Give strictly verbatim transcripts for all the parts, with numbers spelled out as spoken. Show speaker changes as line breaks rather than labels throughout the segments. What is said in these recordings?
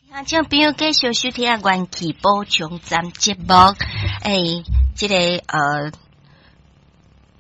聽眾朋友繼續收聽元氣補充站節目。欸，這个呃，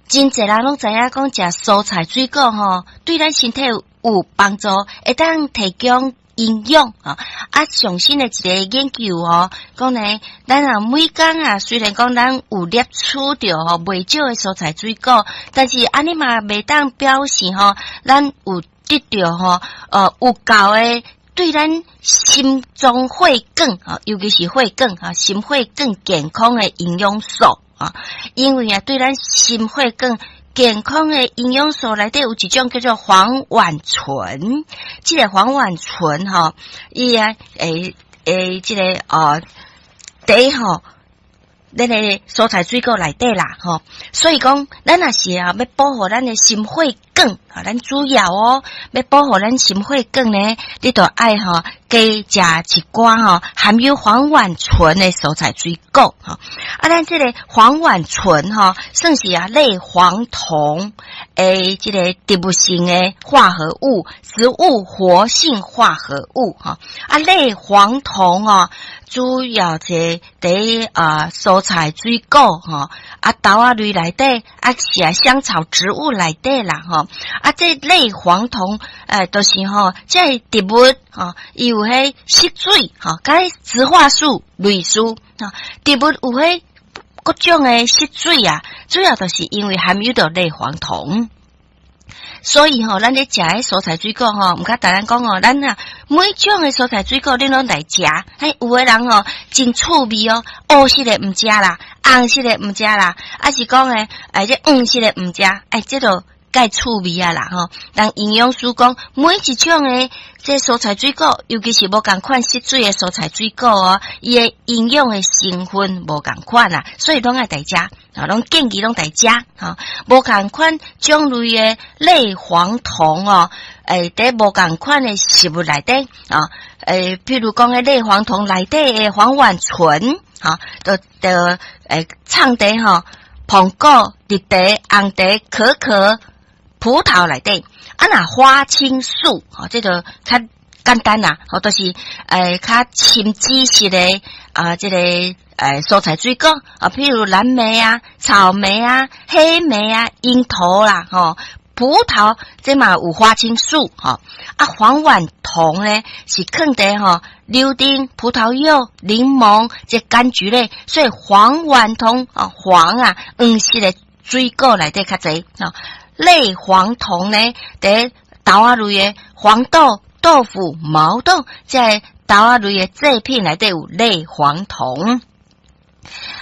真濟人攏知影講食蔬菜水果吼，對咱身體有幫助，會當提供營養啊。啊，上新的一个研究哦，講呢，咱啊每工啊，雖然講咱有攝取著吼袂少的蔬菜水果，但是按呢嘛袂當表示吼，咱有得著吼，呃，有夠的。對咱心臟血管啊，尤其是血管啊，心血管健康的營養素啊，因為啊，對咱心血管健康的營養素內底有一種叫做黃烷醇，這个黃烷醇吼，伊啊，會會這个哦，佇吼，咱的蔬菜水果內底啦，吼，所以講，咱若是啊，欲保護咱的心血管啊，咱主要哦，欲保護咱心血管呢，你著愛吼加食一寡吼含有黃烷醇的蔬菜水果吼。啊，咱這个黃烷醇吼，算是啊類黃酮的這个植物性的化合物，植物活性化合物吼。啊，類黃酮哦，主要是佇啊蔬菜水果吼，啊豆仔類內底，啊是啊香草植物內底啦吼。啊，這類黃酮，欸，就是吼，這个植物吼，伊有彼色水吼，佮植化素類似，吼，植物有彼各種的色水啊，主要就是因為含有著類黃酮。所以吼，咱咧食彼蔬菜水果吼，毋敢逐人講哦，咱啊每種的蔬菜水果恁攏來食。嘿，有的人吼真趣味哦，烏色的毋食啦，紅色的毋食啦，抑是講的，哎，這黃色的毋食，哎，這就蓋趣味啊啦吼。但營養師講，每一種的這蔬菜水果，尤其是無仝款色水的蔬菜水果哦，伊的營養的成分無仝款啊，所以攏愛大食，啊，攏建議攏來食，吼，無仝款種類的類黃酮哦，欸，佇無仝款的食物內底啊，欸，譬如講彼類黃酮內底的黃烷醇，吼，就就會藏佇吼，蘋果、綠茶、紅茶、可可、葡萄內底，啊，若花青素，吼，這个較簡單啦，吼，就是欸較深紫色的啊，這个欸蔬菜水果啊，譬如藍莓啊、草莓啊、黑莓啊、櫻桃啦，吼，葡萄這嘛有花青素，吼，啊，黃烷酮呢是囥佇吼柳丁、葡萄柚、檸檬這柑橘類，所以黃烷酮啊，黃啊，黃色的水果內底較濟，吼。類黃酮呢，佇豆仔類的黃豆、豆腐、毛豆，這豆仔類的製品內底有類黃酮。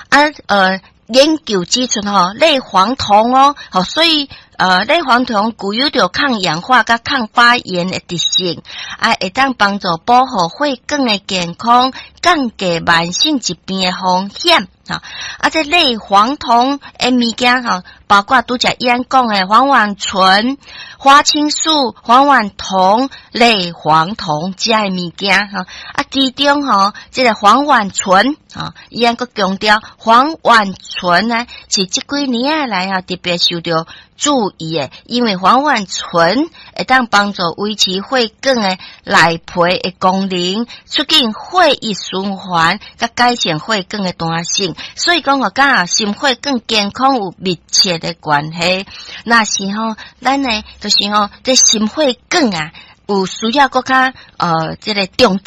啊，呃，研究指出吼，類黃酮哦，所以呃，類黃酮具有著抗氧化佮抗發炎的特性，啊，會當幫助保護血管的健康，降低慢性疾病的風險。啊，這類黃酮的物件吼，包括拄才伊按講的黃烷醇、花青素、黃烷酮、類黃酮這的物件吼。啊，其中吼，這个黃烷醇，吼，伊按閣強調黃烷醇呢，是這幾年來啊特別受著注意的，因為黃烷醇會當幫助維持血管的內皮的功能，促進血液循環，佮改善血管的彈性。所以講哦，佮心血管健康有密切的關係。若是吼，咱呢就是吼，這心血管啊，有需要閣較呃，這个重。